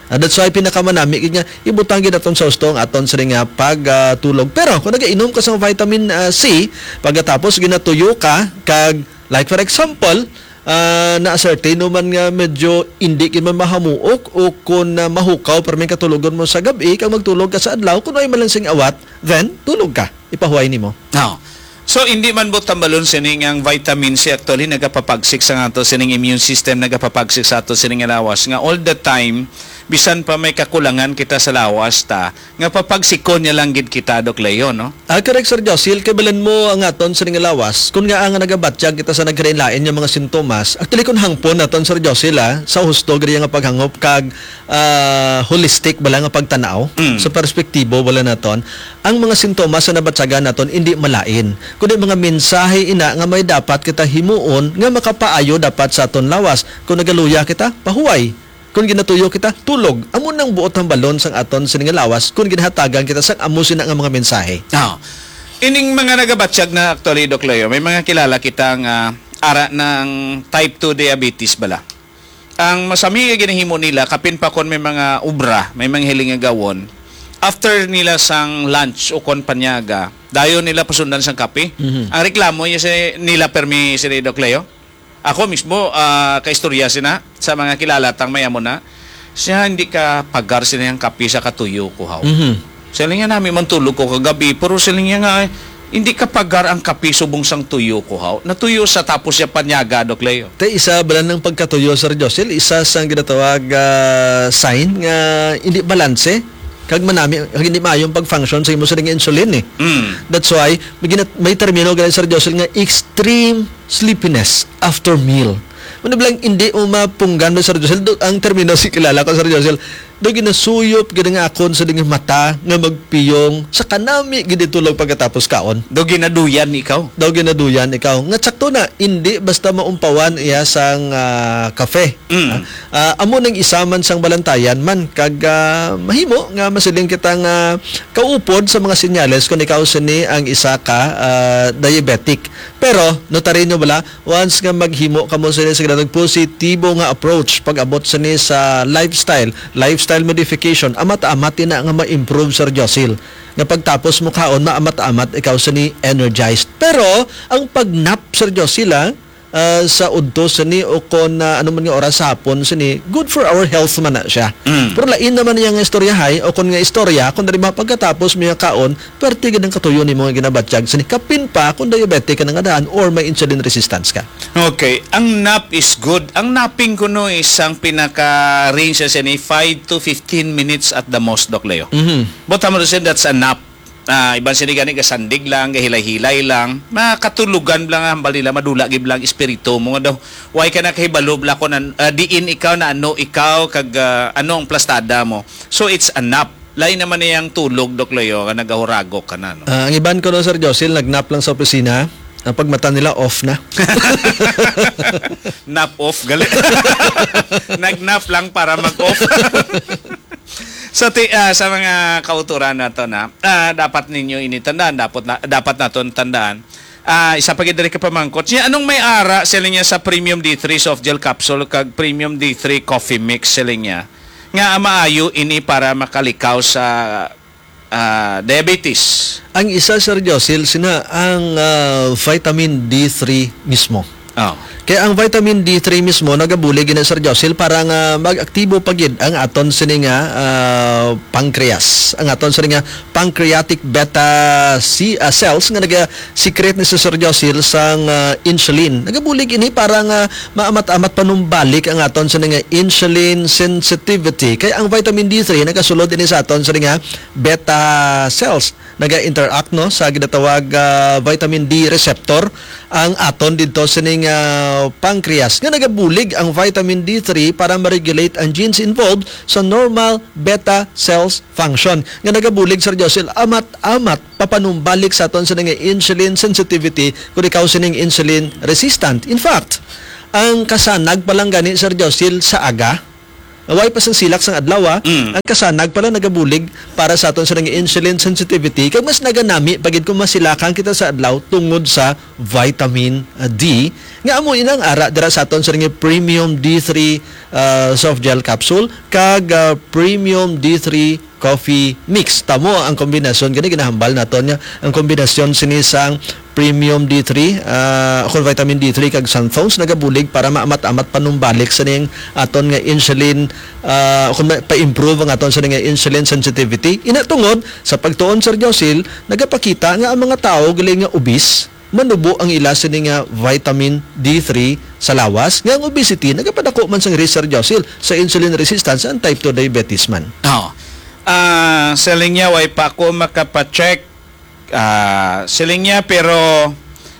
Ah, that's why pinakamanami gid nga ibutang gid naton sa husto ang aton sini nga pag, ah, tulog. Pero kung nagainom ka sa vitamin, ah, C, pagkatapos ginatuyo ka, kag, like, for example, ah, na-ascertain mo man nga medyo indi gid man mahamuok o kung, ah, mahukaw pa man katulogon mo sa gab-i, kag magtulog ka sa adlaw, kung ay man lang sing awat, then tulog ka. Ipahuway nimo. Now, so, hindi man buot hambalon sini nga ang vitamin C actually nagapapagsik sa ato sining immune system, nagapapagsik sa ato sining lawas nga all the time, bisan pa may kakulangan kita sa lawas ta, nga papagsikon niya lang gid kita, Doc Leo, no? Ah, correct, Sir Josil. Kay balan mo ang aton sining lawas. Kung nga ang nagabatyag kita sa nagkalain-lain nga mga sintomas, actually, kung hangpon naton, Sir Josil, ah, sa husto gid nga paghangop kag, ah, holistic bala nga pagtanaw, Mm. sa perspektibo bala naton, ang mga sintomas sa nabatyagan naton hindi malain, kundi mga mensahe ina nga may dapat kita himuon nga makapaayo dapat sa aton lawas. Kung nagaluya kita, pahuway. Kung ginatuyo kita, tulog. Amo nang buot hambalon sang aton sini nga lawas kung ginhatagan kita sang amo sina nga mga mensahe. Ah. Ining mga nagabatyag na actually, Doc Leo, may mga kilala kita nga ara ng type two diabetes bala. Ang masami nga ginahimo nila, kapin pa kon may mga obra, may mga hiling nga gawon, after nila sang lunch o kon panyaga, dayon nila pasundan sang kape. Mhm. Ang reklamo niya si, nila permi si Doc Leo. Ako mismo, ah, kaistorya sina sa mga kilala tang may amo na. Siya, "Hindi ka pagar sini ang kape sa katuyo ko, haw." Mhm. Siling niya, "Nami man tulog ko kagabi, pero," siling niya nga, "hindi ka pagar ang kape subong sang tuyo ko, haw." Natuyo sa tapos siya panyaga, Doc Leo. Te, isa bala ng pagkatuyo, Sir Josel, isa sang ginatawag, ah, sign nga hindi balanse. Kag manami, kag hindi maayong pag-function sa imo sining insulin, eh. Mm. That's why, may gina-, may termino gali, Sir Josel, nga extreme sleepiness after meal. Ano ba lang, hindi mo mapunggan mo, Sir Josel? Do, ang termino si kilala ko, Sir Josel, do ginasuyop gid nga akon sa ding mata nga magpiyong sa kanami gid tulog pagkatapos kaon. Do ginaduyan ikaw? Do ginaduyan ikaw. Nga sakto na, hindi basta maumpawan iya sang, ah, kafe. Mm. Ah, ah, amo nang isa man sang balantayan man, kag, ah, mahimo nga masiling kita nga kaupod sa mga senyales kung ikaw sini ang isa ka, ah, diabetic. Pero, notaryo bala, once nga maghimo kamo sini sa ginatawag positibo nga approach pag-abot sini sa lifestyle, lifestyle modification, amat-amat ina nga ma-improve, Sir Josil. Nga pagtapos mo kaon, maamat-amat ikaw sini energized. Pero, ang pag-nap, Sir Josil, ah, ah, sa udto sini o kon, ah, ano man nga oras sa hapon sini, good for our health man na siya. Mm. Pero lain naman niya nga istoryahay o kon nga istorya, kung dali ba pagkatapos mo nga kaon, perti gid ang katuyo nimo nga ginabatyag sini. Kapin pa kung diabetic ka na nga daan or may insulin resistance ka. Okay, ang nap is good. Ang napping kuno is ang pinaka-range sa sini, five to fifteen minutes at the most, Doc Leo. Mhm. But I'm saying that's a nap. Ah, iban sini gani, gasandig lang, gahilay-hilay lang. Makatulugan lang, hambal nila, madula gid lang espiritu mo nga daw. Way ka nakahibalo bala kung an-, ah, diin ikaw, na ano ikaw, kag, ah, ano ang plastada mo. So, it's a nap. Lain naman niyang tulog, Doc Leo, nga nagahuragok ka na, no? Ah, ang iban ko, no, Sir Josil, nag-nap lang sa opisina. Ang pagmata nila, off na. Nap off, gali. Nag-nap lang para mag-off. Sa ti-, ah, sa mga kauturan nato na, ah, dapat ninyo ini tandaan, dapat na, dapat naton tandaan. Ah, isa pa gid diri ka pamangkot. Siya, anong may ara sila niya sa Premium D three soft gel capsule kag Premium D three coffee mix sila niya? Nga maayo ini para makalikaw sa, ah, diabetes. Ang isa, Sir Josil, sina ang, ah, vitamin D three mismo. Oh. Kaya ang vitamin D three mismo nagabulig gina, Sir Josil, para nga mag-aktibo pa gid ang aton sini nga, ah, pancreas, ang aton sini nga pancreatic beta C, ah, cells nga naga-secrete ni, Sir Josil, sang, ah, insulin. Nagabulig ini para nga maamat-amat panumbalik ang aton sini nga insulin sensitivity. Kay ang vitamin D three nagasulod ini sa aton sini nga beta cells, naga-interact, no, sa ginatawag, ah, vitamin D receptor ang aton didto sining, ah, pancreas, nga nagabulig ang vitamin D three para ma-regulate ang genes involved sa normal beta cells function, nga nagabulig, Sir Josil, amat-amat papanumbalik sa aton sini nga insulin sensitivity, kung ikaw sining insulin resistant. In fact, ang kasanag pa lang gani, Sir Josil, sa aga, way pa sang silak sang adlaw, ah. Mm. Ang kasanag pala nagabulig para sa aton sa nga insulin sensitivity, kag mas naganami pa gid kung masilakan kita sa adlaw tungod sa vitamin, ah, D, nga amo inang ara dira sa aton sa nga premium D three, ah, soft gel capsule kag, ah, premium D three coffee mix. Tamo ang kombinasyon gani ginahambal naton nga ang kombinasyon sini sang premium D three, ah, kon vitamin D three kag xanthones nagabulig para maamat-amat panumbalik sa ning aton nga insulin, ah, kon ma-, pa-improve ang aton sa nga insulin sensitivity. Ina tungod sa pagtuon, Sir Josil, nagapakita nga ang mga tawo gali nga obese, manubo ang ila sini nga vitamin D three sa lawas, nga ang obesity nagapadako man sang risk, Sir Josil, sa insulin resistance and type two diabetes man. Oh. Ah, siling niya, way pa ako makapacheck. Ah, siling niya, pero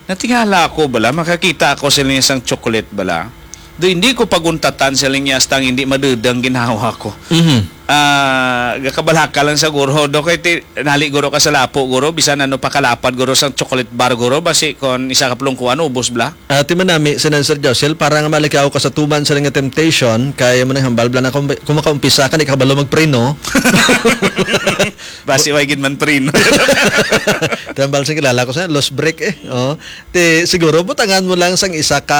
natingala ako bala, makakita ako siling niya sang chocolate bala. Do hindi ko paguntatan siling niya, hasta hindi madudang ginawa ko. Mhm. Ah, gakabalaka lang sa guro. Do kay ti-, nali guro ka sa lapo, guro, bisan ano pa kalapad, guro, sang chocolate bar, guro, basi kon isa ka plungkuan, ubos bala. Ati man nami, si Sir Josel, para nga malikaw ka sa tuman sa nga temptation, kay mo nang hambal bala na kung, kung makaumpisa ka, di ka kabalo magpreno. Basi, way gid man preno. Tambal sa kilala ko sa lost break eh. Oh. Ti, siguro, butangan mo lang sang isa ka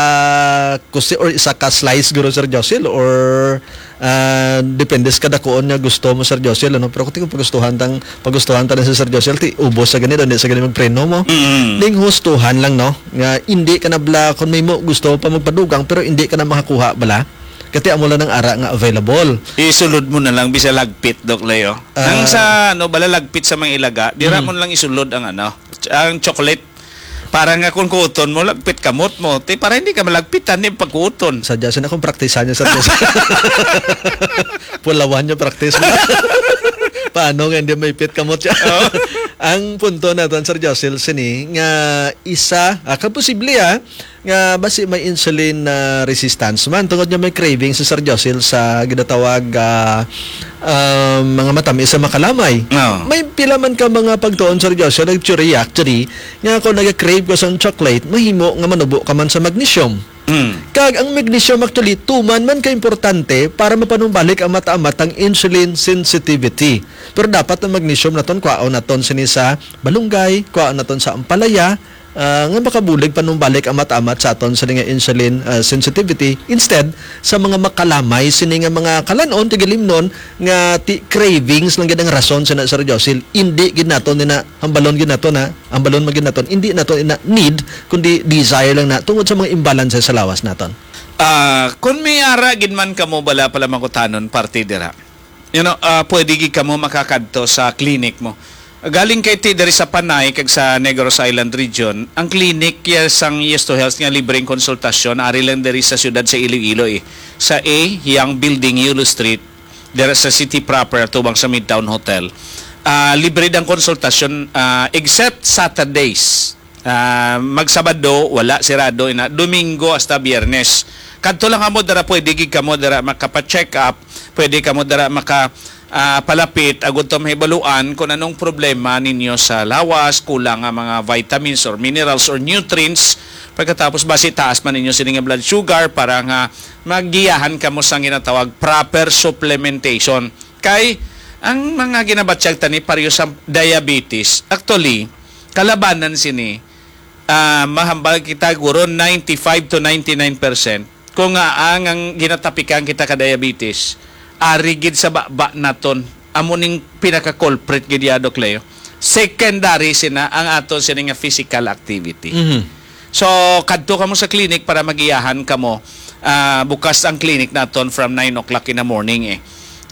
kusi or isa ka slice, guro, Sir Josel, or Ah, depende sa kadakuon nga gusto mo, Sir Josel, ano? Pero kung tingog pagustuhan tang, pagustuhan ta ni si Sir Josel, ti ubos sa gani, daw, hindi sa gani magpreno mo. Mm. Ning hustuhan lang, no? Nga hindi ka na bala, kung may mo gusto pa magpadugang, pero hindi ka na makakuha bala. Kati amo lang ang ara nga available. Isulod mo na lang, bisa lagpit, Doc Leo. Ah. Nang sa, ano, bala lagpit sa mga ilaga, dira Mm. mo na lang isulod ang, ano, ch-, ang chocolate. Para nga kung kuuton mo, lagpit kamot mo. Ti, para hindi ka malagpitan, di pagkuuton. Sadya, sina kung praktisan niya, Sir Josel. Pulawan niya practice mo. Paano nga hindi may pit kamot siya? Oo. Ang punto naton, Sir Josel, sini, nga isa, ah, kaposible, ah, nga basi may insulin, ah, resistance man. Tungod nga may craving si Sir Josel sa ginatawag, ah, ah, mga matamis sa makalamay. Oo. May pila man ka mga pagtuon, Sir Josel, nag-theory actually, nga kung nag-crave ka sa chocolate, mahimo nga manubo ka man sa magnesium. Mm. Kag ang magnesium actually, tuman man ka importante para mapanumbalik ang mata-mata ang insulin sensitivity. Pero dapat ang magnesium naton, kwaon naton sini sa balunggay, kwaon naton sa ampalaya, ah, nga makabulig panumbalik ang mata-amat sa aton sini nga insulin, ah, sensitivity. Instead, sa mga makalamay sini nga mga kalanon, tigilimnon, nga ti-, cravings lang gid ang rason sa na, Sir Josil. Hindi gid naton ni na, hambalon gid naton na, hambalon man gid naton, hindi naton ina need, kundi desire lang na tungod sa mga imbalance sa lawas naton. Ah, kung may ara gid man kamo bala pala mangutanon parte dira. You know, ah, pwede gid kamo makakadto sa clinic mo. Galing kay ti diri sa Panay kag sa Negros Island region, ang clinic ya sang Yes to Health nga libreng konsultasyon ari lang diri sa siyudad sa Iloilo, eh. Sa A Young Building, Yulo Street, dira sa city proper, tubang sa Midtown Hotel. Ah, libre ang konsultasyon, ah, except Saturdays. Ah, magsabado, wala, sirado ina. Domingo hasta Biyernes. Kadto lang kamo dira, pwede gid kamo dira makapa-check up, pwede kamo dira maka, ah, palapit agud to mahibaluan kung anong problema ninyo sa lawas, kulang nga mga vitamins or minerals or nutrients. Pagkatapos, basi taas man ninyo sini nga blood sugar para nga magiyahan kamo sa ginatawag proper supplementation. Kay, Ang mga ginabatyag tani pareho sa diabetes, actually, kalabanan sini, ah, mahambal kita guro ninety-five to ninety-nine percent. Kung nga ang, ang ginatapikan kita ka diabetes, ari gid sa baba naton. Amo ning pinaka-culprit gid ya, Doc Leo. Secondary sina ang aton sini nga physical activity. Mhm. So, kadto kamo sa clinic para magiyahan kamo. Ah, bukas ang clinic naton from nine o'clock in the morning eh.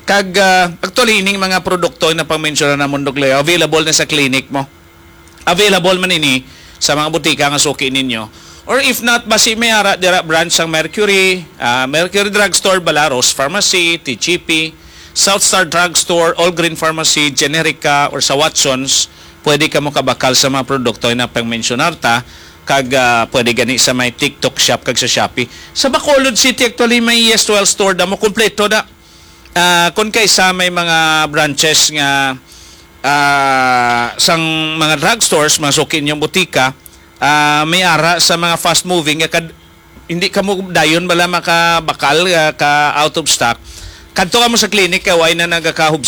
Kag, ah, actually, ining mga produkto na pangmensyonan namon, Doc Leo, available na sa clinic mo. Available man ini sa mga butika nga suki ninyo. Or if not, basi may ara dira branch sang Mercury, ah, Mercury Drugstore, Balaros Pharmacy, T G P, South Star Drugstore, All Green Pharmacy, Generica, or sa Watsons. Pwede kamo kabakal sa mga produkto na pangmensyonar ta, kag, ah, pwede gani sa may TikTok Shop kag sa Shopee. Sa Bacolod City, actually, may Yes Well Store damo, kompleto da. Ah, kung kaisa may mga branches nga, ah, sang mga drugstores, mga suki ninyong butika, ah, may ara sa mga fast moving nga kad-, hindi kamo dayon bala makabakal, ah, ka out of stock. Kadto kamo sa clinic kay way na nagakahubsat